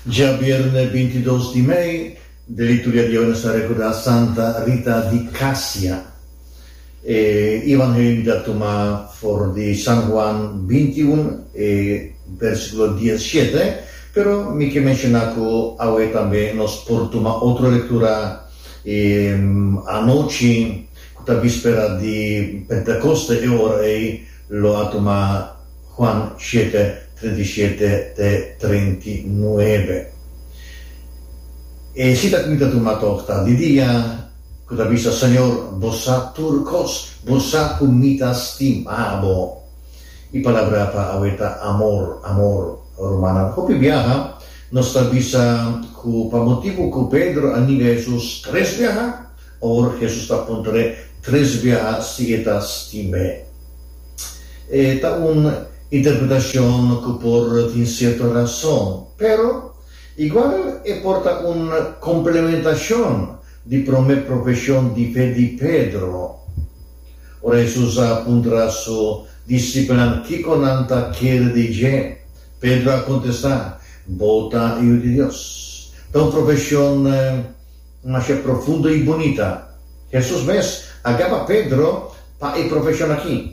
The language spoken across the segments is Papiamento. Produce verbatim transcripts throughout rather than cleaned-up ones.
Djabièrnè bintidos di mei, den liturgia di awe nos ta rekordá Santa Rita di Casia. E evangelio mi ta tuma for di San Juan bintiun, e versíkulo diesshete, pero mi ke menshoná ku awe tambe nos por tuma otro lektura e anochi ku ta víspera di Pentekoste, e ora ei lo a tuma Juan shete, treinta i shete te treinta i nuebe. E sita ku mi ta tuma tòg ta di dia ku ta bisa, Señor, bo sa tur kos, bo sa ku mi ta stima bo. E palabra pa awe ta amor, amor. Rumannan, hopi biaha nos ta bisa ku pa motibu ku Pedro a ninga Hesus tres biaha, awor Hesus ta puntr'é tres biaha si e ta stim'é. E ta un interpretashon ku por tin sierto rason, pero igual e por ta un komplementashon di promé profeshon di fe di Pedro. Ora Hesus a puntra su disipelnan kiko nan ta kere di dje, Pedro a kontestá, Bo ta Yu di Dios. Ta un profeshon masha profundo i bunita. Hesus mes a gaba Pedro pa e profeshon aki.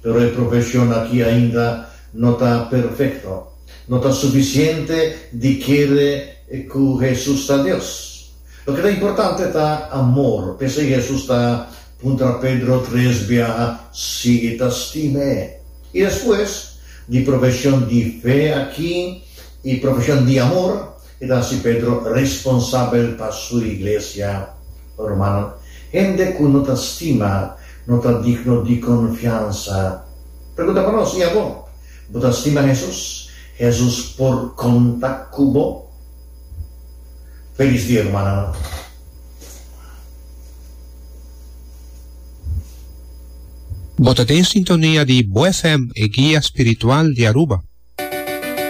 Pero e profeshon aki ainda no ta perfekto. No ta sufisiente di kere ku Hesus ta Dios. Loke ta importante ta amor. P'esei Hesus ta puntra Pedro tres biaha si e ta stim'é. I despues di profeshon di fe aki i profeshon di amor, e ta hasi Pedro responsabel pa su iglesia. Rumannan, hende ku no ta stima no ta digno di konfiansa. Pregunta pa nos, i abo? Bo ta stima Hesus? Hesus por konta ku bo? Felis dia, rumannan. Bo ta den sintonia di Bo F M, e guia spiritual di Aruba.